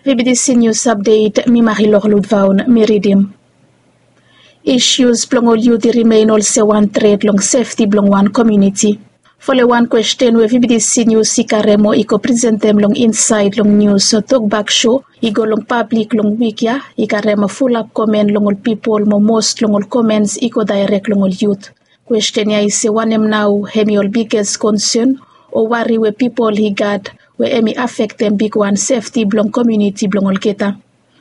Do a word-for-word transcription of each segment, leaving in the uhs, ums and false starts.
Vibitisi nius apdet, mi marilok ludvaon mi ridim. Isius blong ol yut i rimen olsem wan tret long sefti blong wan komiuniti. Foloing wan kwesten we vibitisi nius i karem mo i go presentem long insaed long nius tokbak so i go long pablik long wik ya, i karem fulap komen long ol pipol mo mos long ol komens i go daerek long ol yut. Kwesten ya i se wanem nao hem i ol biges konsen o wari we pipol i gat we hem i afektem bigwan sefti blong komiuniti blong olgeta.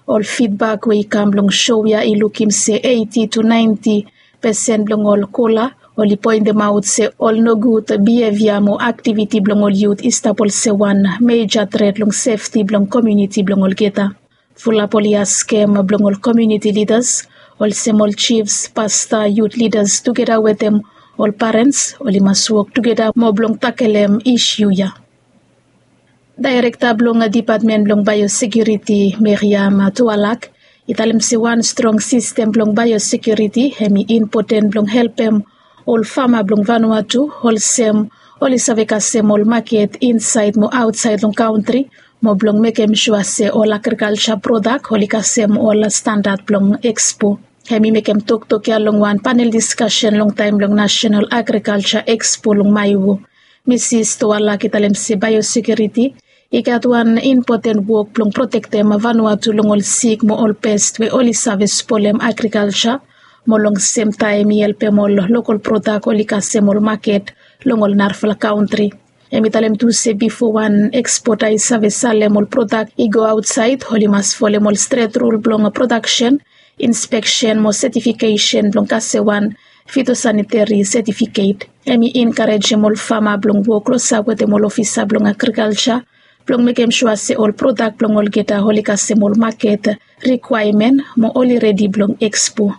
Ol fidbak we i kam long so ya i lukim se eiti tu naenti pesen blong ol kola oli poentemaot se ol nogud bihevia mo aktiviti blong ol yut i stap olsem wan meja tret long sefti blong komiuniti blong olgeta. Fulap oli askem blong ol komiuniti lidas olsem ol jifs, pasta, yut lidas tugeta wetem ol parens oli mas wok tugeta mo blong takelem isiu ya. Daerekta blong dipatmen blong baeosekiuriti, Meriam Tualak, i talem se wan strong sistem blong baeosekiuriti hem i impoten blong helpem ol fama blong Vanuatu olsem oli save kasem ol maket insaed mo aotsaed long kantri mo blong mekem sua se ol agrikalja prodak oli kasem ol standad blong ekspo. Hem i mekem toktok ya long wan panel diskasen long taem blong Nasenal Agrikalja Ekspo long Maewo. Misis Tualak i talem se baeosekiuriti i gat wan impoten wok blong protektem Vanuatu long ol sik mo ol pes we oli save spolem agrikalja mo long semtaem i helpem ol lokol prodak oli kasem ol maket long ol narafala kantri. Hem i talem tu se bifo wan ekspota i save salem ol prodak i go aotsaed oli mas folem ol stret rul blong prodaksen, inspeksen mo setifikesen blong kasem wan fitosaniteri setifiket. Hem i enkarejem ol fama blong wok klosap wetem ol ofisa blong agrikalja blong mekem sua se ol prodak blong olgeta oli kasem ol maket rikwaemen mo oli redi blong ekspo.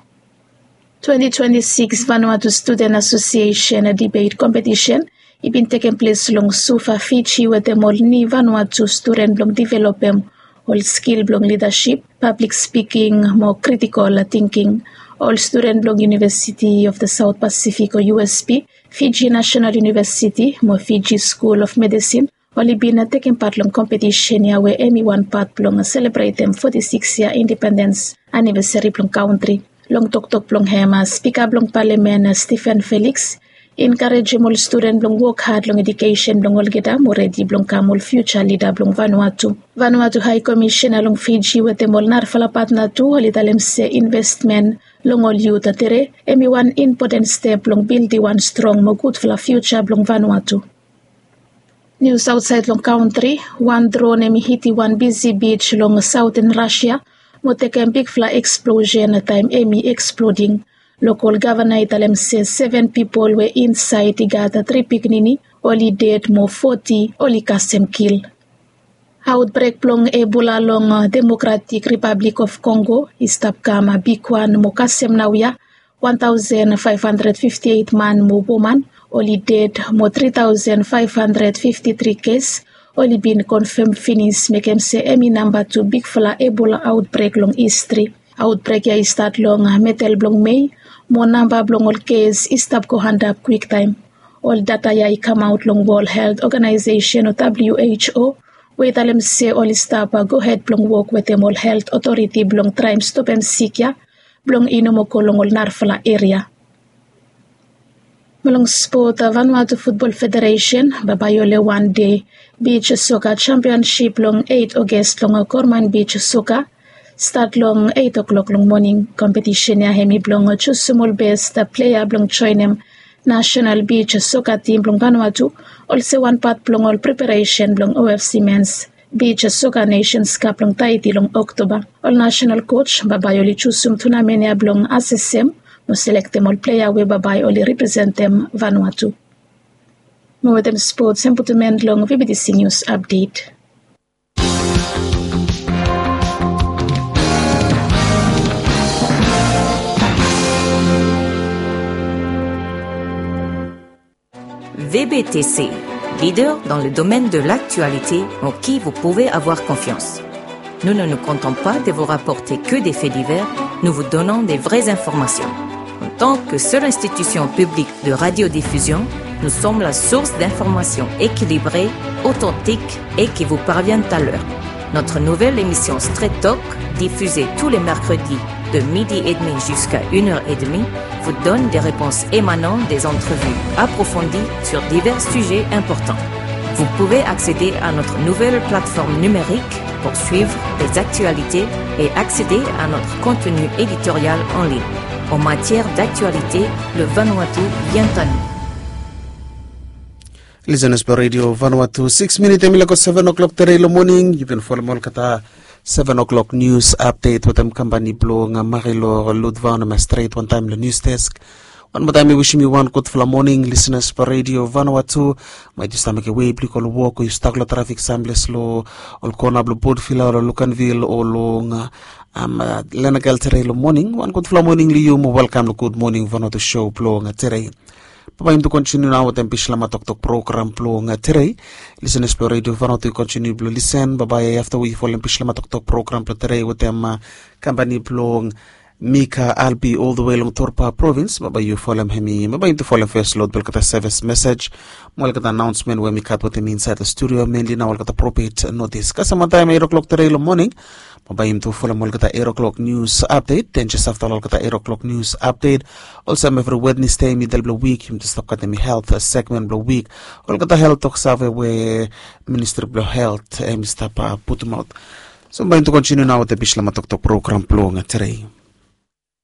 Twenti twenti sikis Vanuatu Studen Asosiesen dibet kompetisen i bin tekem ples long Suva, Fiji wetem ol niu Vanuatu studen blong developem ol skil blong lidasip, pablik spiking mo kritikol tingking. Ol studen blong University of the South Pacific o U S P, Fiji National University mo Fiji School of Medicine oli bin tekem pat long kompetisen ya we hem i wan pat blong selebretem foti sikis yia independens anivesari blong kantri. Long toktok blong hem, spika blong palamen, Stephen Felix, i enkarejem ol studen blong wok had long edukesen blong olgeta mo redi blong kam ol fiuja lida blong Vanuatu. Vanuatu Hae Komisena long Fiji wetem ol narafala patna tu oli talem se investmen long ol yut tere hem i wan impoten step blong bildim wan strong mo gudfala fiuja blong Vanuatu. Nius aotsaed long kantri, wan dron hem i hitim wan bisi bij long saoten Rasia mo tekem bigfala eksplosen taem hem i eksploding. Lokol gavana i talem se seven pipol we insaed i gat tri pikinini oli ded mo foti oli kasem kil. Aotbrek blong Ebola long Democratic Republic of Congo i stap kam bigwan mo kasem naoia wan taosen faef handred fifti eit man mo woman oli ded mo tri taosen faef handred fifti tri kes oli bin konfam finis, mekem se hem i namba tu bigfala Ebola aotbrek long histri. Aotbrek ya i stat long medel blong Mei mo namba blong ol kes i stap go antap kwiktaem. Ol data ya i kamaot long World Health Organization o W H O we i talem se oli stap gohed blong wok wetem ol helt otoriti blong traem stopem sik ya blong i no moa go long ol narafala eria. Mo long spot, Vanuatu Futbol Federesen bambae oli wande bij soka jampionsip long eit Oges long Gorman Bij Soka, stat long eit oklok long moning. Kompetisen ya hem i blong jusum ol bes plea blong joenem nasenal bij soka tim blong Vanuatu olsem wan pat blong ol preparesen blong O F C Mens Bij Soka Nesens Kap long Taeti long Oktoba. Ol nasenal koj bambae oli jusum tunamen ya blong asesem mo selektem ol plea we bambae oli representem Vanuatu. Mo wetem spots hem putum en long V B T C News Update. V B T C, leader dans le domaine de l'actualité en qui vous pouvez avoir confiance. Nous ne nous contentons pas de vous rapporter que des faits divers, nous vous donnons des vraies informations. En tant que seule institution publique de radiodiffusion, nous sommes la source d'informations équilibrées, authentiques et qui vous parviennent à l'heure. Notre nouvelle émission Straight Talk, diffusée tous les mercredis de midi et demi jusqu'à une heure et demie, vous donne des réponses émanant des entrevues approfondies sur divers sujets importants. Vous pouvez accéder à notre nouvelle plateforme numérique pour suivre les actualités et accéder à notre contenu éditorial en ligne. En matière d'actualité, le Vanuatu vient à nous. Listeners blong Radio Vanuatu, six minit em i laik go seven o'clock tere long morning. Yu bin folem olgeta seven o'clock news update wetem kampani blong Marilor Ludvan em stret wantaem long news desk. Wan moa taem mi wisim yu wan gudfala morning listeners blong Radio Vanuatu. Maet yu stap mekem wei blong yu go long wok o yu stak long trafik samples long ol kona blong Port Vila o long Luganville o long Lenakel tere long morning. Wan gudfala morning long yu mo welkam long Good Morning Vanuatu show blong tere. Bambae yumi tu kontiniu nao wetem Bislama Toktok program blong tere. Listeners blong Radio Vanuatu yu kontiniu blong lisen. Bambae afta we yu folem Bislama Toktok program blong tere wetem kampani blong Mika Albi all the way long Torpa provins. Bambae yu folem hemi. Bambae yumi tu folem fes long olgeta sevis mesej mo olgeta anaonsmen we mi gat wetem insaed long studio, menli nao olgeta propet notis. Kasem wantaem eit o'clock tere long morning, bambae yumi tu folem olgeta eit o'clock news update. Den jes afta long olgeta eit o'clock news update, olsem evri Wednesday midel blong wik yumi tu stap gat hemi health segment blong wik. Olgeta health toksave we Ministri blong Health hemi stap putumaot. So bambae yumi tu kontiniu nao wetem Bislama Toktok program blong tere.